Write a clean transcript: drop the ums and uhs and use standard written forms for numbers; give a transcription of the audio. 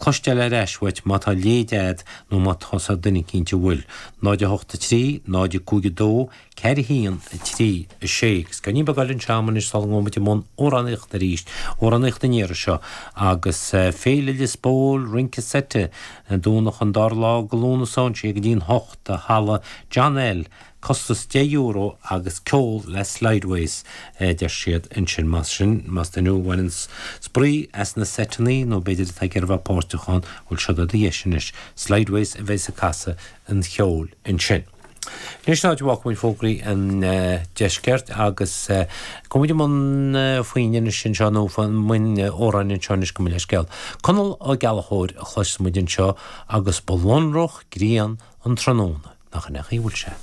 Cloisteáil ar ais uait má tá leid a'd nó má tá 's a'd duine eicínt a bhfuil. 0 8 3 0 5 2 4 1 3 6 Agus ceoilín beag eile anseo a'm anois sula ngabhfaidh muid i mbun amhránaíochta arís, amhránaíocht an iarraidh seo, agus Féile Lios Póil, Rince Seite, Domhnach an dara lá de Lúnasa ón sé go dtí an hocht, i Halla John L. Costas €10 agus ceol le Slideways, a deir siad ansin. Más sin, más duine thú a bhaineann spraoi as na seiteanna nó b'fhéidir atá ag iarraidh a bheith páirteach ann, bhuel seo do dheis anois. Slideways a bheas ag casadh an cheoil ansin. Anois an áit a bhfágfaidh muid fógraí an deiscirt agus gabhfaidh muid i mbun foinn anois anseo nó i mbun amhráin anseo anois gabh mo leithscéal. Conall Ó Gallchóir a chloisfidh muid anseo agus ba lonrach grian an tráthnóna. Nach in é an chaoi a bhfuil sé?